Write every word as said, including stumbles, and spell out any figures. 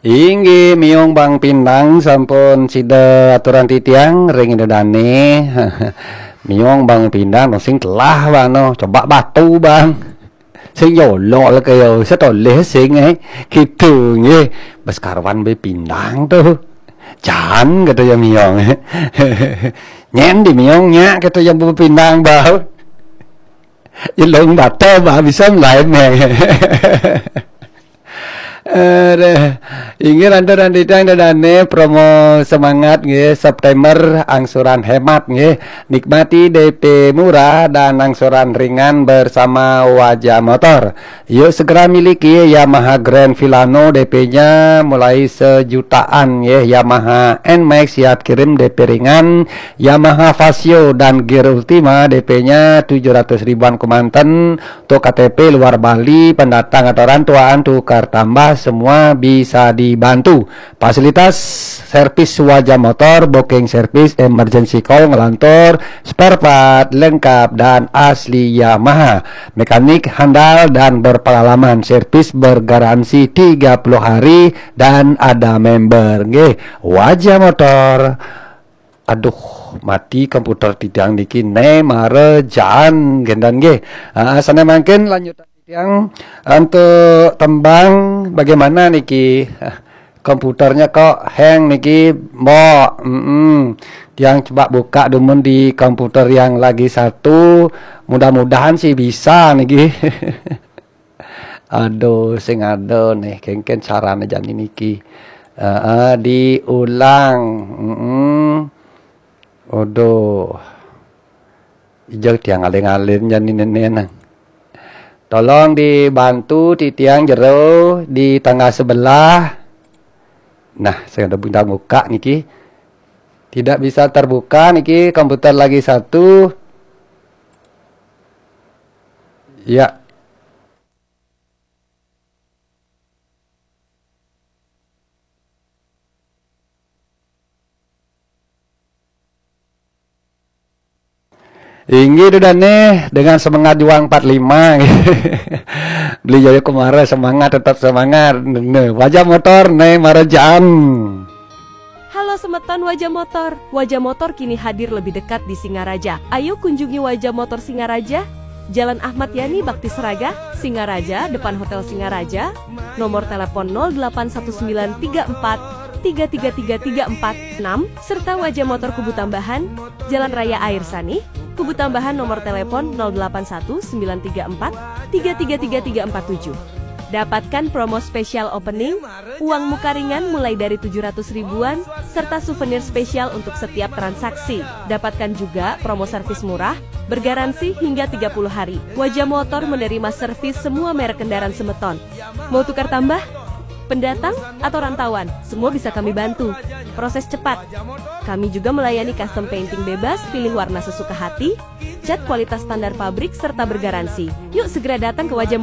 Inggih, miong Bang Pindang sampun sida aturan titiang ring Ida Dane. Miong Bang Pindang, no sing telah, Bang, no. Coba batu, Bang. Sing yolok le kaya, setoleh sing, eh. Gitu, nggih. Bes karwan be Pindang tuh. Jan, kata ya miong. Nyen di miong nyak, kata ya be Pindang, bau. Ilung bata, bah, bisa lain, eh. Aduh. Inggih, rantu-rantu titiang Ida Dane, promo semangat nggih, September angsuran hemat nggih. Nikmati D P murah dan angsuran ringan bersama Wajah Motor. Yuk segera miliki Yamaha Grand Filano, D P-nya mulai sejutaan nggih. Yamaha N-Max siap kirim, D P ringan. Yamaha Fazzio dan Gear Ultima, D P-nya tujuh ratus ribuan kemanten. Untuk K T P luar Bali, pendatang atau rantuan, tukar tambah, semua bisa dibantu. Fasilitas servis Wajah Motor, booking service, emergency call, ngelantur, spare part lengkap dan asli Yamaha. Mekanik handal dan berpengalaman, servis bergaransi tiga puluh hari dan ada member. Nggih, Wajah Motor. Aduh, mati komputer titiang niki, ne mara jaan gendan nggih. Ah, sane mangkin lanjutan titiang untuk tembang, bagaimana niki? Ah, komputernya kok hang niki, Mbok. Mm-mm. Tiang coba buka dumun di komputer yang lagi satu. Mudah-mudahan sih bisa niki. Aduh, sing ada nih, kengken carane jani niki. Heeh, diulang. Mm-mm. Aduh. Ijak tiang aling-aling jani nene nang. Tolong dibantu titiang jero di tangga sebelah. Nah, sing ada bintang buka niki. Tidak bisa terbuka niki, komputer lagi satu. Ya. Inggih, Ida Dane, dengan semangat juang empat lima. Beli Jaya Kumara, semangat, tetap semangat. Ne, Wajah Motor, ne mara jaan. Halo semeton Wajah Motor. Wajah Motor kini hadir lebih dekat di Singaraja. Ayo kunjungi Wajah Motor Singaraja, Jalan Ahmad Yani Bakti Seraga, Singaraja, depan Hotel Singaraja. Nomor telepon nol delapan satu sembilan tiga empat tiga tiga tiga tiga empat enam, serta Wajah Motor Kubu Tambahan, Jalan Raya Air Sanih, Kubu Tambahan, nomor telepon nol delapan satu sembilan tiga empat tiga tiga tiga tiga empat tujuh. Dapatkan promo spesial opening, uang muka ringan mulai dari tujuh ratus ribuan, serta souvenir spesial untuk setiap transaksi. Dapatkan juga promo servis murah, bergaransi hingga tiga puluh hari. Wajah Motor menerima servis semua merek kendaraan semeton. Mau tukar tambah? Pendatang atau rantauan, semua bisa kami bantu. Proses cepat. Kami juga melayani custom painting bebas, pilih warna sesuka hati, cat kualitas standar pabrik, serta bergaransi. Yuk segera datang ke Wajah